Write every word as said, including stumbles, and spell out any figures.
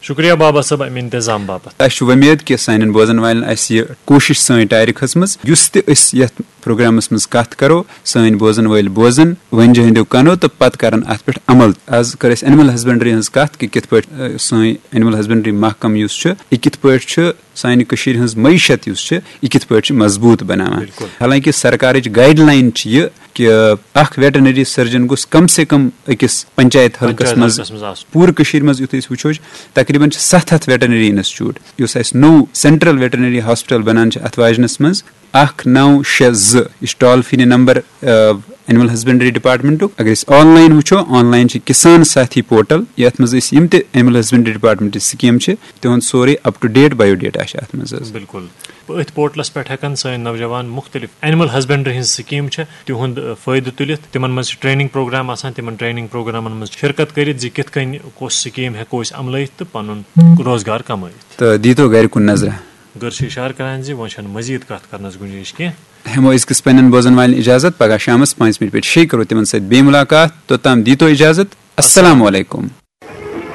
شکریہ بابا صٲب، امہِ انتظام باپتھ۔ اسہِ چھُ وۄمید کہِ سانٮ۪ن بوزن والٮ۪ن آسہِ یہِ کوٗشش سٲنۍ ٹارِ کھٔژمٕژ، یُس تہِ أسۍ یتھ پروگرامس منٛز کتھ کرو، سٲنۍ بوزن وٲلۍ بوزن، ؤنجہِ ہٕنٛدیو کنو، تہٕ پتہٕ کرن اتھ پٮ۪ٹھ عمل۔ از کٔر اسہِ اینیمل ہسبنڈری ہٕنٛز کتھ کہِ کِتھ پٲٹھۍ، آ، سٲنۍ اینیمل ہسبنڈری محکم یُس چھُ، یہِ کِتھ پٲٹھۍ چھُ سانہِ کٔشیٖرِ ہٕنٛز معیشت یُس چھِ، یہِ کِتھ پٲٹھۍ چھِ مضبوٗط بناوان۔ بِلکُل۔ حالانکہِ سرکارٕچ گایڈ لاین چھِ یہِ کہِ اکھ ویٹرنری سرجن گوٚژھ کم سے کم أکِس پنچایت حلقس پنچایت منٛز، حلقس منٛز آسُن۔ پوٗرٕ کٔشیٖرِ منٛز یُتھ أسۍ وٕچھو، تقریباً چھِ ستھ ہتھ ویٹرنری انسٹیٹیوٹ۔ یُس اسہِ نوٚو سینٹرل ویٹرنری ہاسپٹل بنان چھِ اتھ واجنس منٛز، اکھ نو شےٚ زٕ، یہِ چھُ toll free number animal husbandry ڈپارٹمنٹُک۔ اگر أسۍ آن لاین وٕچھو، آن لاین چھِ کسان ساتھی پورٹل، یتھ منٛز أسۍ یِم تہِ اینیمل ہسبنڈری ڈپارٹمنٹ سکیٖم چھِ، تِہُنٛد سورُے up to date bio data چھِ اتھ منٛز حظ۔ بِلکُل۔ أتھۍ پورٹلس پٮ۪ٹھ ہٮ۪کن سٲنۍ نوجوان مختلف اینیمل ہسبنڈری ہٕنٛز سکیٖم چھِ، تِہُنٛد، آ، فٲیدٕ تُلِتھ۔ تِمن منٛز چھِ ٹریننگ پروگرام آسان، تِمن ٹریننگ پروگرامن منٛز شرکت کٔرِتھ زِ کِتھ کٔنۍ کۄس سکیٖم ہٮ۪کو أسۍ عملٲیِتھ تہٕ پنُن روزگار کمٲیِتھ۔ تہٕ دیٖتو گرِ کُن نظرہ۔ گرٕ چھِ اشارٕ کران زِ وۄنۍ چھنہٕ مزید کتھ کرنس گُنجٲیش کینٛہہ۔ ہٮ۪مو أزکِس پننٮ۪ن بوزن والٮ۪ن اجازت، پگاہ شامس پانٛژِ بجہِ پٮ۪ٹھ شیٚیہِ کرو تِمن سۭتۍ بیٚیہِ مُلاقات۔ توٚتام دیٖتو اجازت۔ السلام علیکم۔